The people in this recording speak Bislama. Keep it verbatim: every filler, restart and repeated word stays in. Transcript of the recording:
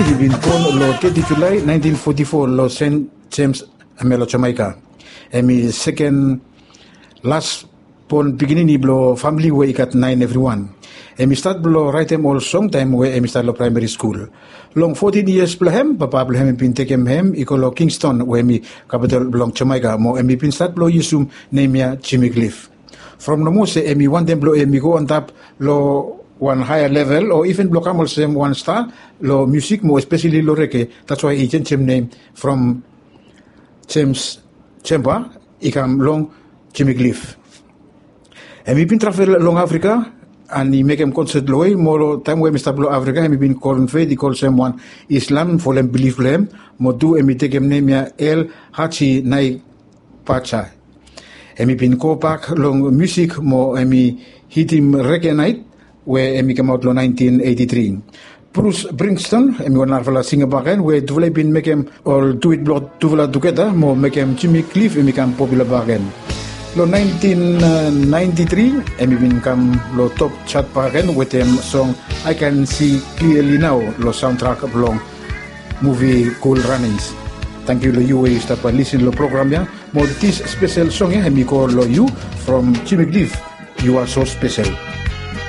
I bin bon long teti Julae naentin foti fo long Sen Jems, hemia long Jamaika. Hem i seken las bon pikinini blong famili we i gat naen evriwan. Hem i stat blong raetem ol song taem we hem i stat long praemari skul. Long fotin yias blong hem, papa blong hem i bin tekem hem i go long Kingston we hem i kapitol blong Jamaika, mo hem i bin stat blong yusum nem ya Jimmy Cliff. From nomo se hem i wantem blong hem i go antap long wan haea level o iven blong kam olsem wan sta long musik mo espeseli long rege, dats wae i jenjem nem from Jems Jemba i kam long Jimmy Cliff. Hem i bin travel long Afrika an i mekem konset long we mo long taem we hem i stap long Afrika hem i bin konvet i go olsem wan Islam folem bilif blong hem, mo tu hem i tekem nem ya El Haji Nai Paja. Hem i bin gobak long musik mo hem i hitim Rege Naet we hem i kamaot long naentin eiti tri. Brus Springston hem i wan narafala singa bakegen we tufala i bin mekem ol duet blong tufala tugeta mo mekem Jimmy Cliff hem i kam popula bakegen. Long naentin naenti tri hem i bin kam long top jat bakegen wetem song I Can See Clearly Now long saontrak blong muvi Cool Runnings. Tangkiu long yu we yu stap lisin long program ya. Mo dis spesel song ya hem i go long yu from Jimmy Cliff, You Are So Special.